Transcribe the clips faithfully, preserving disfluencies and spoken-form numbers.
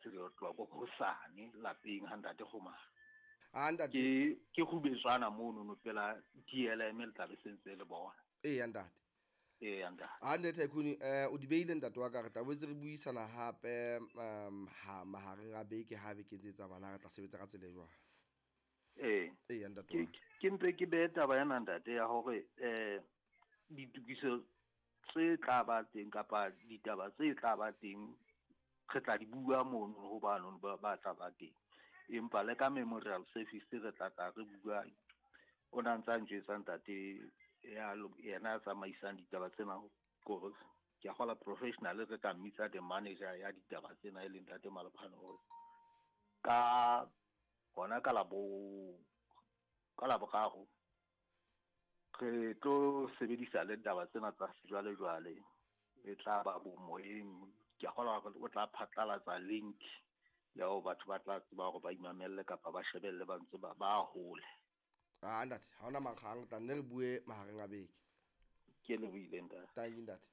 ka re tloha ko hosane lapeng ha ntate Kgomare. A ntate. Ke ke Kgubetswana mono no pela D L M le tla be sentse le bona. Ee ntate. Ee ntate. A ntate Tycoon eh o di beile ntate wa ka re tla boetse re buisana hape um ha mahareng a beke ha beke ntse tsamana re tla sebetsa ka tsela e jwang. Ee. Ee ntate. Ke ke mpe ke behe taba ena ntate ya hore eh ditokiso tse tla ba teng kapa ditaba tse tla ba teng re tla di bua mono ho bano ba ba tla ba teng. Empa le ka memorial service re tla tla re bua o na ntsa njwetsa ntate ya yena a tsamaisang ditaba tsena kore ke a kgola professional re ka mmitsa the manager ya ditaba tsena e leng ntate Malephane hore ka hona ka labo ka laboraro re tlo sebedisa le ditaba tsena tsa sejwalejwale e tla ba bomoyeng. Ke a kgolwa hore o tla phatlalatsa link ya hore batho ba tla tseba hore ba imamelle kapa ba shebelle ba ntse ba ba hole. Ah ntate, ha hona mankgang tla nne re bue mahareng a beke. Ke le buile ntate. Thank you ntate.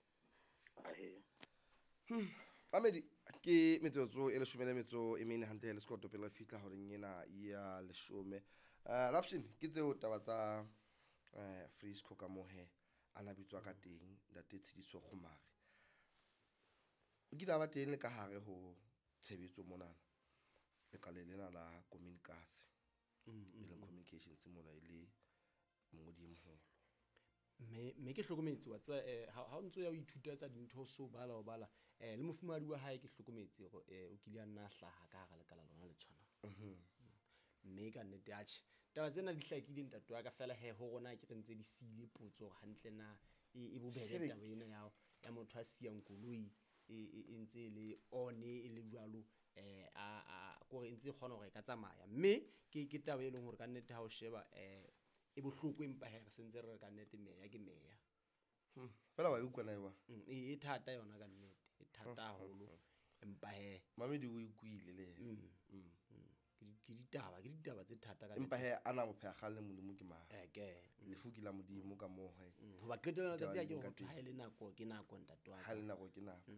Ahe. Hmm. Mamedi ke metsotso e leshome le metso e mene hantle le sekoto pele re fihla horeng ena ya leshome. Eh Rapshin ke tseo taba tsa eh Frisco ka mohe ana bitswa ka teng ntate Tshidiso Kgomare. O kile a ba teng le ka hare ho tshebetso monana. Lekala lena la Communicas. Mm, E leng communications mona e le mongodi e moholo. Mme mme ke hlokometse wa tseba eh ha ha o ntso ya o ithuta tsa dintho so bala o bala eh le mofumahadi wa hae ke hlokometse hore eh o kile a nna hlaha ka hara lekala lona le tshwanang. Mhm. Mme ka nnete atjhe taba tsena di hlakile ntate wa ka fela he ho rona ke re ntse di siile potso hore hantle na e e bobebe Here. taba ena ya ya motho a siyang koloi e e e ntse e le on e le jwalo eh a a kore e ntse e kgona hore e ka tsamaya mme ke ke taba e leng hore ka nnete ha o sheba eh e bohloko empa he re sentse re re ka nnete meya ke meya. Hmm. Fela wa e utlwa na e wa? Mm, e e thata yona ka nnete e thata haholo empa he Mamedi o ikuile le yena. Mm, Mm. mm. Ke di- ke ditaba ke ditaba tse thata ka Empa nnete. he ana mo pheha kgang le Modimo ke mang? Eh, ke. Lefu ke la Modimo ka moo he. Mm, hoba qetellong Ditaba letsatsi ha di ke leng ka hore teng. ha e le nako ke nako ntate wa Ha ka. le nako ke nako.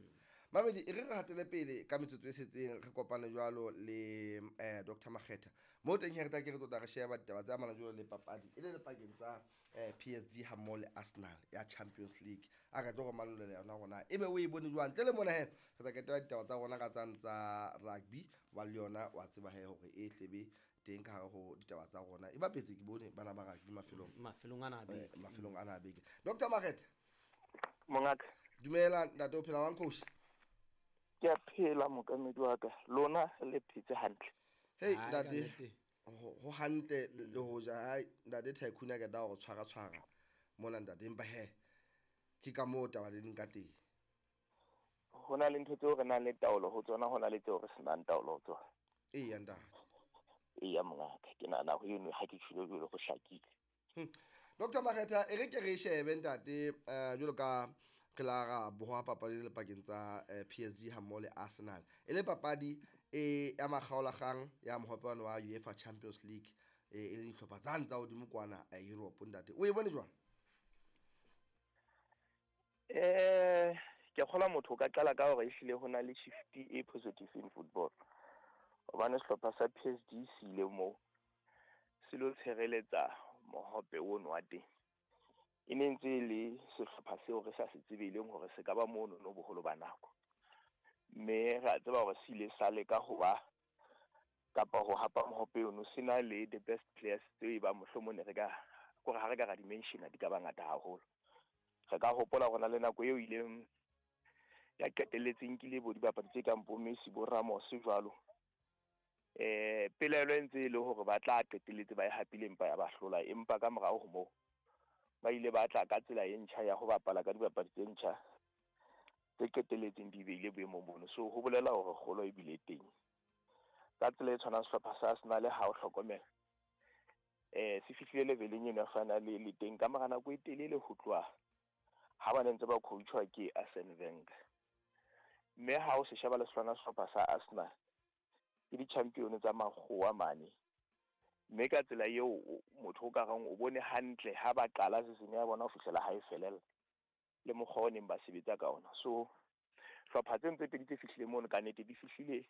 Mamedi e re re hatele pele ka metsotso e setseng re kopane jwalo le eh Doctor Makgetha. Mo teng he re tla ke re tlotla re sheba ditaba tse amanang jwalo le papadi e le le pakeng tsa eh P S G ha mmoho le Arsenal ya Champions League. A ka tlo re manolela yona hore na ebe o e bone jwang. Ntle le mona he re tla ketela ditaba tsa rona ka tsane tsa rugby wa le yona wa tseba he hore e hlebe teng ka hare ho ditaba tsa rona. E bapetse ke bone bana ba rugby mafelong. Mafelong ana a beke. Eh, mafelong ana a beke. Doctor Makgetha. Mongaka. Dumela ntate o phela jwang coach? Ke a phela mokamedi wa ka. Lona le phetse hantle. Hey, Hai, ka ntate. nnete. Ho, ho hantle le ho ja. Hai, ntate Tycoon a qeta hore tshwara tshwara mona ntate empa he ke ka moo taba le leng ka teng. Ho na le ntho tseo re nang le taolo ho tsona, ho na le tseo re senang taolo ho tsona. Eya ntate. Eya mongaka, ke nahana ho eno ha ke tjhilo jwalo ho hlakile. Hmm. Doctor Makgetha, e re ke re shebe ntate, eh, jwalo ka re la ra boha papadi le pakeng tsa, eh, P S G ha mmoho le Arsenal. E le papadi e ya makgaolakgang ya mohope wa UEFA Champions League, e, e le dihlopha tsane tsa hodimo kwana, eh, Europe ntate. O e bone jwang? Eh, ke kgolwa motho o ka qala ka hore ehlile ho na le shift e positive in football. Hobane sehlopha sa P S G se ile moo se lo tshireletsa mohope ono wa teng. E ne ntse e le sehlopha seo re sa se tsebeleng hore se ka ba mono no boholo ba nako. Mme re a tseba hore se ile sa leka ho ba kapa ho hapa mohope ono se na le the best players tseo e bang mohlomong ne re ka, kore ha re ka ra di-mention-a di ka ba ngata haholo. Re ka hopola hore na le nako eo ileng ya qetelletse nkile bo dibapadi tse kang bo Messi, bo Ramos jwalo. Eh, pelaelo e ntse e le hore ba tla qetelletse ba e hapile empa ya ba hlola, empa ka morao ho moo ba ile ba tla ka tsela e ntjha ya ho bapala ka dibapadi tse ntjha tse qetelletseng di beile boemong bono. So ho bolela hore kgolo e bile teng. Ka tsela e tshwanang sehlopha sa Arsenal ha o hlokomela, eh, se fihlile leveleng eno ya final le teng ka mora nako e telele ho tloha ha ba ne ntse ba coachwa ke Arsene Wenger. Mme ha o se sheba le sona sehlopha sa Arsenal ke di-champion tsa makgowa mane. Mme ka tsela eo motho o ka reng o bone hantle ha ba qala season ya bona ho fihlela ha e felella le mokgwa o neng ba sebetsa ka ona. So hlopha tse ntse pedi tse fihlile mono ka nnete di fihlile